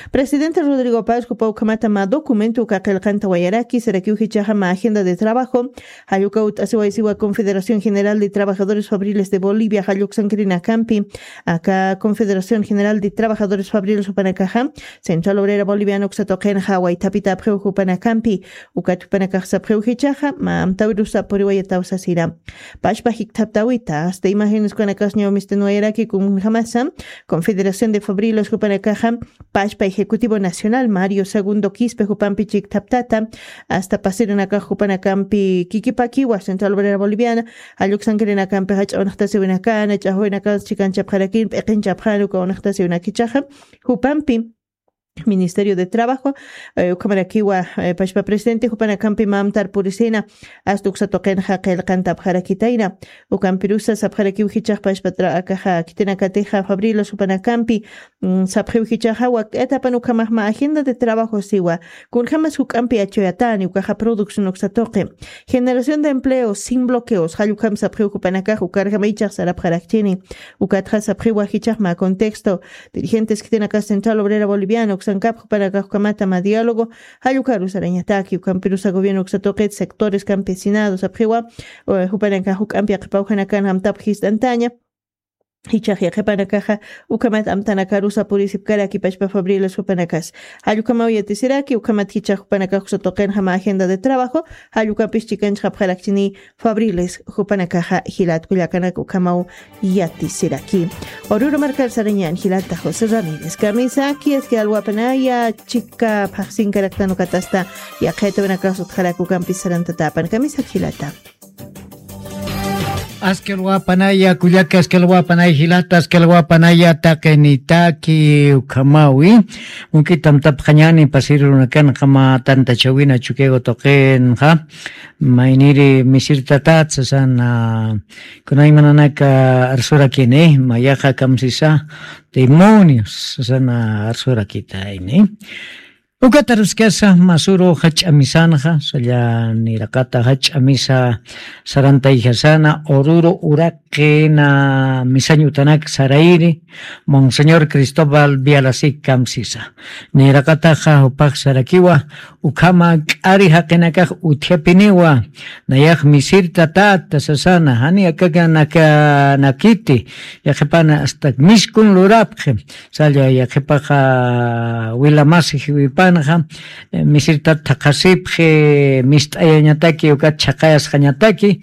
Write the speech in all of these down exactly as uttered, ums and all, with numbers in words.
Presidente Rodrigo Paz jupa ukhamata mä documento uka qillqanta wayaraki sarakiw jichaxa mä agenda de trabajo, jalluka ut'asiwaysiwa Confederación General de Trabajadores Fabriles de Bolivia jalluksankirinakampi, aka Confederación General de Trabajadores Fabriles jupanakaxa Central Obrera Boliviana uksa tuqinxa waythapitapxiw jupanakampi, ukat jupanakax sapxiw jichaxa mä amtawirus sapuriwayataw sasira. Pachpa jikthaptawita asta imágenes kunanakas ñawmisten wayaraki kunjamasa Confederación de Fabriles jupanakaxa pachpa ejecutivo nacional Mario Segundo Quispe jupampi chikthaptata asta pasirinakax jupanakampi kikipakiwa Central Obrera Boliviana jalluksankirinakampi jach'a unaqtasiwinakana ch'axwinakas chikanchapxarakin p'iqinchapxan uka unaqtasiwinakichaxa jupampi Ministerio de Trabajo, eh, ukhamarakiwa, eh, pachpa presidente jupanakampi mamtar purisina asta uksa tuqinxa qillqantapxarakitayna. Ukampirusa sapxarakiw jichax pachpa tra- akaxa kitinakatixa Fabriles jupanakampi, mm, sapxiw jichaxa wak'atapan ukhamax mä agenda de trabajo siwa. Kunjamas juk'ampi achuyatani ukaxa producción uksa tuqi. Generación de empleo sin bloqueos jallukam sapxiw jupanakax ukarjama ichax sarapxarakchini. Ukatxa sapxiwa jichax mä contexto. Dirigentes khitinakas Central Obrera Boliviana uksankap jupanakax ukhamata mä diálogo jallukaru sarañataki ukampirusa gobierno uksa tuqit sectores campesinado sapxiwa, eh, jupanakax juk'ampi yaqhipaw janakan amtapxi jist'antaña. Jichax yaqhipanakaxa ukhamat amtanakarusa purisipkaraki pachpa Fabriles jupanakas. Jallukamaw yatisiraki ukhamat jichax jupanakax uksa tuqinxa mä agenda de trabajo jallukapis chikanchxapxarakchini Fabriles jupanakaxa jilat kullakanak ukhamaw yatisiraki. Oruro markar sarañan jilata José Ramírez. Kamisaki aski alwapanaya chika phaxsinkaraktan ukatasta yaqhaytawinakax utxarak ukampis sarantatapan. Kamisak jilata. Aski alwapanaya kullaka, aski alwapanaya jilata, aski alwapanaya taqinitaki ukhamawi. Unk'itam tapxañani pasir runakanxa mä tantachawina Chukiyawu tuqinxa. Mayniri misirtatat sasana, kunaymananaka arsurakini, mayaxa kamsisa, demonios sasana arsurakitayni. Ukat aruskasa masuru jach'a misanxa, salla niraqata jach'a misa sarantayjasana, Oruro uraqina misañ utanak sarayri, Monseñor Cristóbal Vialasik kamsisa. Niraqataxa jupax sarakiwa, ukhama k'ari jaqinakax utjapiniwa, nayax misirta tata sasana, jani akaka naka nakiti, yaqhipana asta miskun lurapxi, salla yaqhipaxa wilamasi jiwipanxa, eh, misirta thaqhasipxi, mist'ayañataki, ukat chhaqayasxañataki,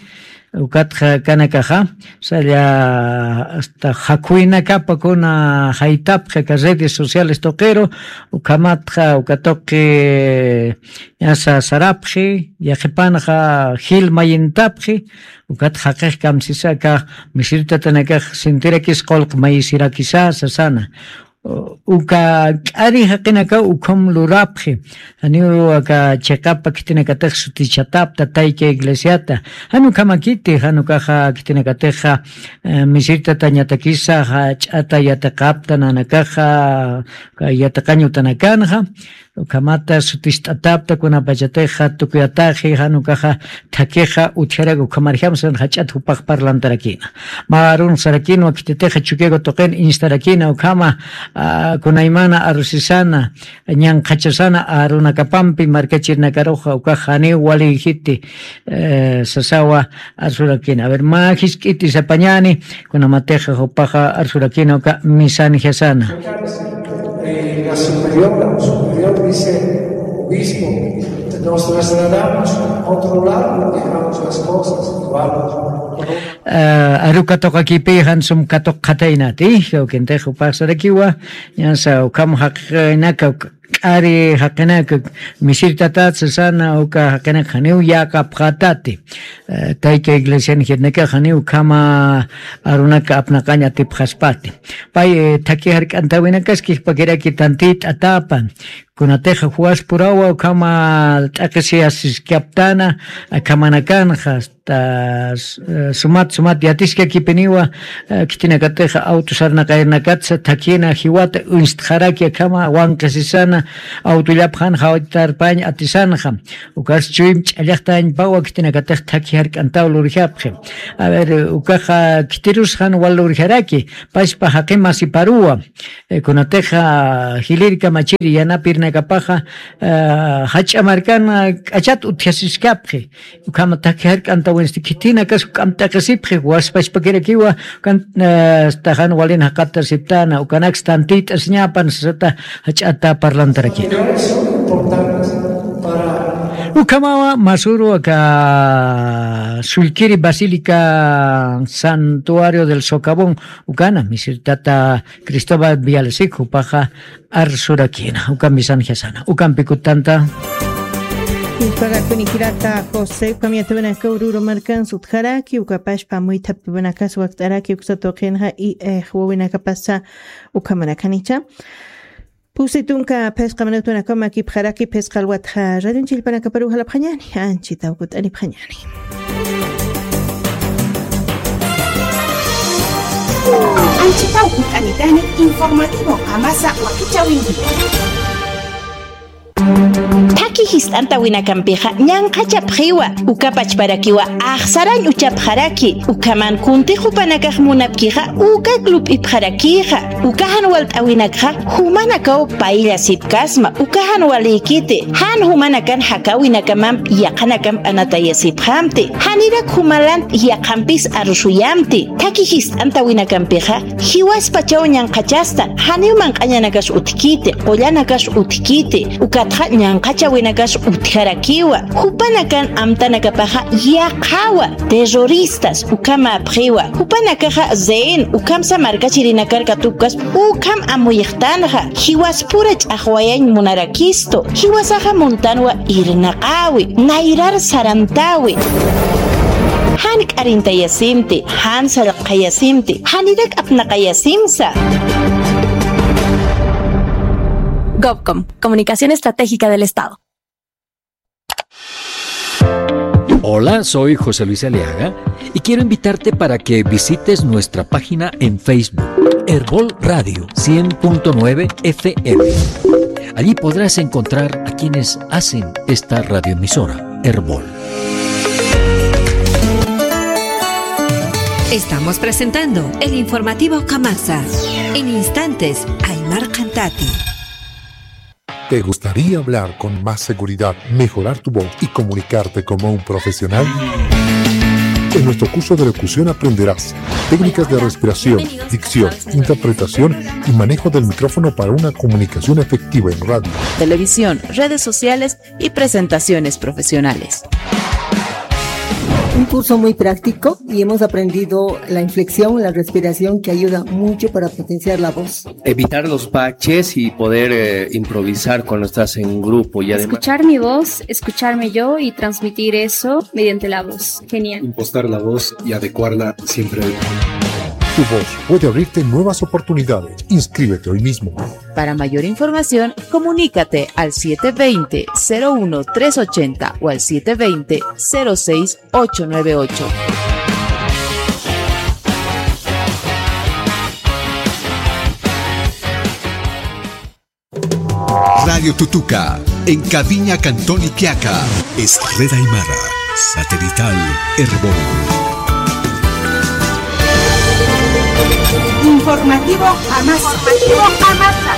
ukatxa kanakaxa, salla asta jakhuynakapa kuna jaytapxi aka redes sociales tuqiru, ukhamatxa uka tuqi ñasa sarapxi, yaqhipanxa jil mayintapxi, ukat jaqix kamsisa aka misirtatanakax sintirakis qullq mayisirakisa sasana. Uka k'ari jaqinaka ukham lurapxi. Janiw aka chiqapa khitinakatix sutichatapta tayka iglesiata. Jan ukhamakiti, jan ukaxa khitinakatixa, eh, misirtatañatakisa, jach'ata yatiqapta nanakaxa, ka yatiqañ utanakanxa. Ukhamata sutist'atapta kunapachatixa tukuyataxi, jan ukaxa thakixa utjarak ukhamarjamsan jach'at jupax parlantarakina. Mä arun sarakinwa khititixa Chukiyawu tuqin instarakina ukhama, ah, kunaymana arusisana, ñanqhachasana arunakapampi markachirinakaruxa ukax janiw waliyjiti, eh, sasawa arsurakina. A ver, mä jisk'iti sapañani, kunamatixa jupaxa arsurakina uka misanjasana. Eh, la superiora o superior dice, obispo, nos trasladamos a otro lado, dejamos las cosas igual. Eh, aruka tuqakipi jan sum katuqxataynati, jawkintix jupax sarakiwa, ñasa ukham jaqinaka, k'ari jaqinaka, misirtatat sasana uka jaqinaka janiw yäqapxatati. Eh, tayka iglesian jitnakax janiw ukhama arunaka apnaqañ atipxaspati. Pay, eh, thaki jark'antawinakas kijpakiraki tantit'atapan. Kunatixa juwaspurawa ukhama t'aqhisiyasiskaptana, akhamanakanxa, ta, s-, eh, sumat, sumat yatiskakipiniwa, eh, khitinakatixa auto sarnaqayrnakatsa thakhina jiwata uñstxaraki akhama wanqisisana, autollapxan jawtarpañ atisanxa. Ukas chuym ch'allaxtañpawa khitinakatix thakhi jark'antaw lurjapxi. A ver, ukaxa khitirusxan wal lurjaraki, pachpa jaqi masiparuwa. Eh, kunatixa jilïr kamachiri yanapirnakapaxa, eh, jach'a markan k'achat utjasiskapxi. Ukhama thakhi jark'antawinsti khitinakas juk'amp t'aqhisipxi, waspachpakirakiwa, kan, eh, staxan walin jaqatasiptana, ukanaks tantit'asiñapan sasata jach'ata parlantarakina. Ukhamawa masuru aka Sullkiri Basílica Santuario del Socavón, ukana, misir tata Cristóbal Villalcik, jupaxa arsurakina, uka misan jasana, ukampi kutanta. Ispagakuni jirata José, ukamiyata winaka ururu markan sutjaraki, ukapashpa muythapta winaka suwakt'araki, uksa tuqinxa, i, eh, wawinakapasa, ukamanakanicha. Pusi tunka phisqa minutunakama kipxaraki phisqa alwatxa radion chillpanakaparu jalapxañani, anchita ukut'anipxañani. Anchita ukut'anitani informativo Qamasa wakichawinki. Thaki jist'antawinakampixa ñanqhachapxiwa, uka pachparakiwa axsarañ uchapxaraki, ukhaman kuntix jupanakax munapkixa ukak lup'ipxarakixa, uka jan walt'awinakxa jumanakaw payllasipkasma, uka jan walïkiti, jan jumanakan jakawinakamamp yaqanakamp anatayasipxamti, janirak jumalant yaqampis arusuyamti, thaki jist'antawinakampixa, jiwaspachaw ñanqhachasta, janiw manq'añanakas utjkiti, qullanakas utjkiti, ukatxa ñanqhachawinakas utjarakiwa, jupanakan amtanakapaxa yaqhawa, terroristas, ukhamapxiwa, jupanakaxa rehén, ukhamsa markachirinakar katupkasp, ukham amuyxtanxa, jiwaspura ch'axwayañ munarakistu, jiwasaxa muntanwa irnaqäwi, nayrar sarantäwi. Jan k'arintayasimti, jan sallqayasimti, janirak apnaqayasimsa. Gobcom, Comunicación Estratégica del Estado. Hola, soy José Luis Aliaga y quiero invitarte para que visites nuestra página en Facebook, Erbol Radio cien punto nueve F M. Allí podrás encontrar a quienes hacen esta radioemisora, Erbol. Estamos presentando el informativo Kamasa. En instantes, Aymar Cantati. ¿Te gustaría hablar con más seguridad, mejorar tu voz y comunicarte como un profesional? En nuestro curso de locución aprenderás técnicas de respiración, dicción, interpretación y manejo del micrófono para una comunicación efectiva en radio, televisión, redes sociales y presentaciones profesionales. Un curso muy práctico y hemos aprendido la inflexión, la respiración que ayuda mucho para potenciar la voz. Evitar los baches y poder, eh, improvisar cuando estás en grupo y además escuchar mi voz, escucharme yo y transmitir eso mediante la voz. Genial. Impostar la voz y adecuarla siempre al tono. Tu voz puede abrirte nuevas oportunidades. Inscríbete hoy mismo. Para mayor información, comunícate al siete veinte, cero uno, tres ochenta o al siete veinte, cero seis, ocho nueve ocho. Radio Tutuca, en Caviña, Cantón Iquiaca. Es red aymara, satelital, Erbol. Informativo Amasa. Informativo Amasa.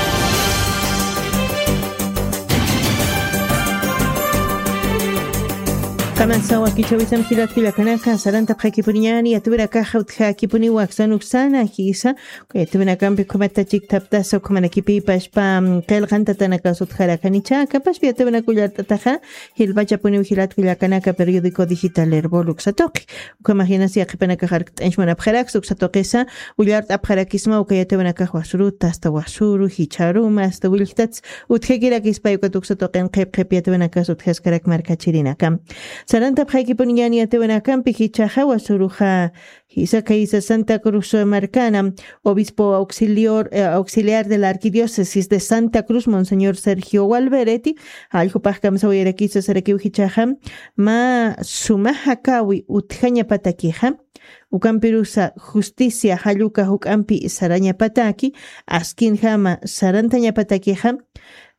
Kamasa wakichawisam jilat kullakanaka, sarantapxakipuniñani, yatipinakaxa utjakipuniwa aksan uksana, jisa, yatipinakampi ukhamata chikthaptasa, ukhamanakipï pachpa, mm, qillqantatanakas utjarakanicha, kapaspi yatipinak ullart'ataxa, jilpachapuniw jilat kullakanaka periódico digital Erbol uksa tuqi. Ukhamax jinas yaqhipanakax arkt'añch munapxaraksa uksa tuqisa, ullart'apxarakisma uka yatipinakax wasruta, hasta wasru, jichharuma, hasta willjtats, utjakirakispa ukat uksa tuqin qhip qhip yatipinakas utjaskarak markachirinakam. Sarantapxaykipuniñani atiwanakampi jichaxa wasuruxa jisaka isa Santa Cruz markana, obispo auxilior, eh, auxiliar de la arquidiócesis de Santa Cruz, monseñor Sergio Walbereti, alljupax kamsawayarakisa sarakiw jichaxa, ma sumaxa kawi utjañapatakixa, ukampirusa justicia jalluka juk'ampi sarañapataki, askinjama sarantañapatakixa,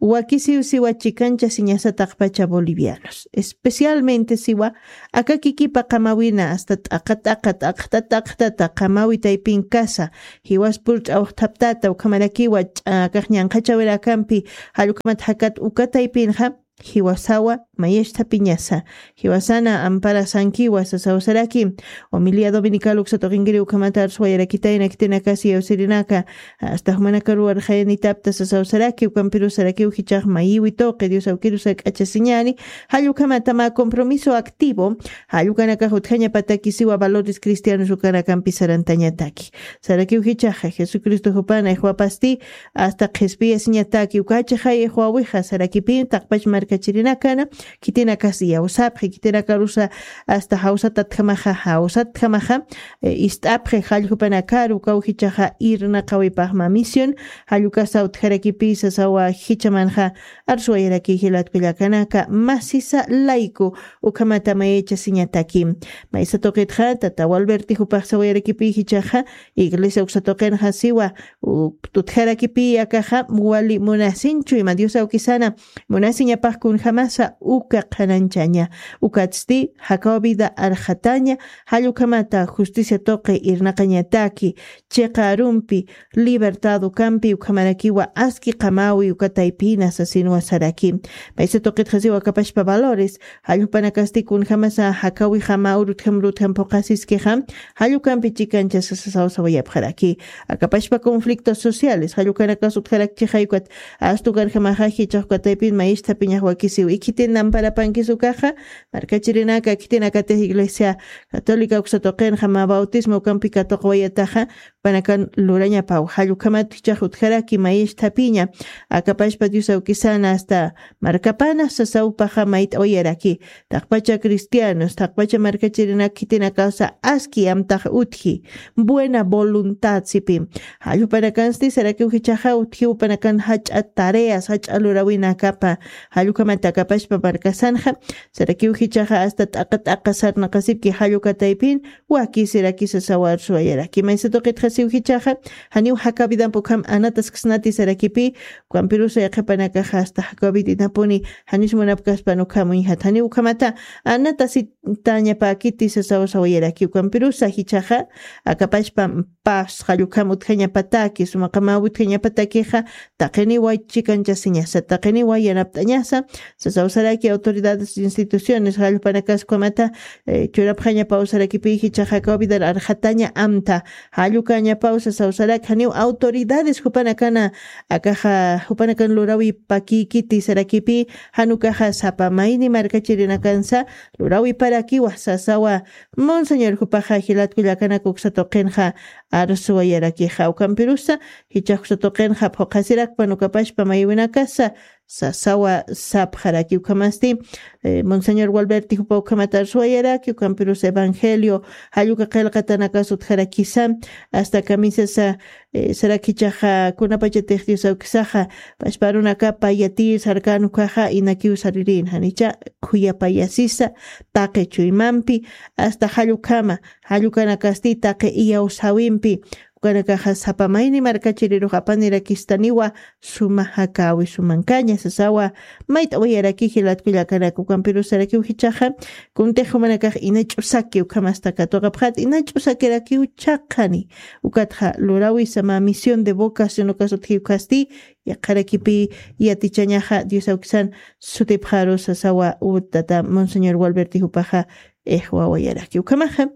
wakisiw siwa chikancha siñasa taqpacha bolivianos, especialmente siwa aka kikipa qamawina asta t'aqa t'aqa t'aqta t'aqtata qamawi taypin kasa, jiwas purch'awxthaptata ukhamarakiwa ch'akax ñanqhachawirakampi, jallukhamat jakat uka taypinxa jiwasawa mayaschthapiñasa, jiwasana amparasankiwa sasaw saraki. Homilía dominical uksa tuqinkiri ukhamata arsuwayarakitayna khitinakasi yawsirinaka, asta jumanakaruwarxayanitapta sasaw saraki, ukampiru sarakiw jichax mayiwi tuqi Dios awkirusa k'achasiñani, jallukhamatama compromiso activo jallukanakax utjañapatakisiwa valores cristianos ukanakampi sarantañataki. Sarakiw jichaxa Jesucristo jupana ixwapasti asta qhispiyasiñataki ukachaxay ixwawixa sarakipi taqpach markachirinakana, khitinakas yawsapxi khitinakarusa asta jawsatatjamaxa jawsatjamaxa, eh, ist'apxi jalljupanakaru ukaw jichaxa irnaqawipaxma misión, jallukasa utjarakipisa sawa jichamanxa arsuwayaraki jilatkullakanaka masisa layku ukhamata mayachasiñataki. Maysa tuqitxa tata Walberti jupax sawayarakipi jichaxa iglesia uksa tuqinxa siwa, u- tutjarakipi akaxa wali munasinchu ima Dios awkisana munasiñapax kunjamasa uka qhananchaña, ukatsti jakaw vida arxataña, jallukhamata justicia tuqi irnaqañataki, chiqa arumpi, libertad ukampi ukhamarakiwa aski qamawi uka taypina sasinwa saraki. Maysa tuqitxa siwa akapashpa valores, jalljupanakasti kunjamasa jakawixama urutjam urutjam phuqasiskixa, jallukampi chikancha sasasaw sawayapxaraki. Akapashpa conflictos sociales, jallukanakas utjarakchixay ukat astu karjamaxa jichax uka taypin mayischthapiñax wakisiw ikhitin amparapankis ukaxa, markachirinaka khitinakatix iglesia católica uksa tuqinxa mä bautismo ukampi katuqawayataxa, panakan lurañapaw jallukhamat jichax utjaraki mayischthapiña, akapashpa Dios awkisana asta markapana sasawpaxa mayt'awayaraki, taqpacha cristianos taqpacha markachirinak khitinakasa aski amtax utji, buena voluntad sipi, jallupanakansti sarakiw jichaxa utjiw panakan jach'a tareas jach'a lurawinakapa, jallukhamat akapashpa markasanxa, sarakiw jichaxa asta t'aqa t'aqa sarnaqasipki jalluka taypin, wakisirakisa sawa arsuwayaraki. Maysa tuqitxa siw jichaxa, janiw jakaw vidan ukham anataskasnati sarakipi, ukampirusa yaqhipanakaxa asta jakaw vidinapuni janis munapkaspan ukham uñjat, janiw ukhamata anatasitañapakiti sasaw sawayaraki. Ukampirusa jichaxa, akapashpa pas jallukam utjañapataki, sumaqamaw utjañapatakixa, taqiniwa chikanchasiñasa, taqiniwa yanapt'añasa, sasaw saraki autoridades instituciones jallupanakas ukhamata, eh, churapxañapaw sarakipi jichaxa jakaw vidar arxataña amta, jallukañapaw sasaw saraki, janiw autoridades jupanakana, akaxa jupanakan lurawipakikiti sarakipi, jan ukaxa sapa mayni markachirinakansa lurawiparakiwa sasawa, monseñor jupaxa jilatkullakanaka uksa tuqinxa arsuwayarakixa. Ukampirusa jichax uksa tuqinxa phuqhasirakpan ukapashpa maywinakasa sasawa sapxaraki. Ukhamasti, eh, monseñor Walberti jupa ukhamata arsuwayaraki, ukampirusa evangelio jalluka qillqatanakas utjarakisa, asta kamisasa, eh, sarak jichaxa kunapachatix Dios awkisaxa pashpa arunakapa yatir sarkan ukaxa inakiw saririn, janicha khuyapayasisa taqi chuymampi, asta jallukama, jallukanakasti taqi iyawsäwimpi, ukanakaxa sapa mayni markachirirux apanirakistaniwa, suma jakawi sumankaña sasawa, mayt'awayaraki jilatkullakanaka. Ukampirusarakiw jichaxa, kuntix jumanakax ina ch'usaki ukhamasta katuqapxat, ina ch'usakirakiw chhaqhani, ukatxa lurawisa mä misión de vocación ukas utji ukasti, yaqharakipi yatichañaxa Dios awkisan sutipxaru sasawa, u tata monseñor Walberti jupaxa ixwawayaraki. Ukhamaxa,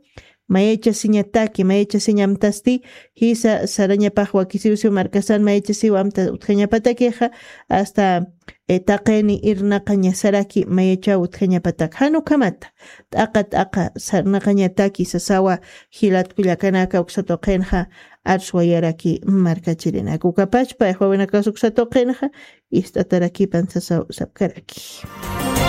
mayachasiñataki, mayachasiñamtasti, jisa sarañapax wakisiwsiw markasan mayachasiw amta utjañapatakixa, asta, eh, taqini irnaqañasaraki mayachaw utjañapatak. Jan ukhamata, t'aqa t'aqa sarnaqañataki sasawa, jilatkullakanaka uksa tuqinxa arsuwayaraki markachirinaka. Ukapachpa, ixwawinakas uksa tuqinxa, ist'atarakipan sasaw sapkaraki.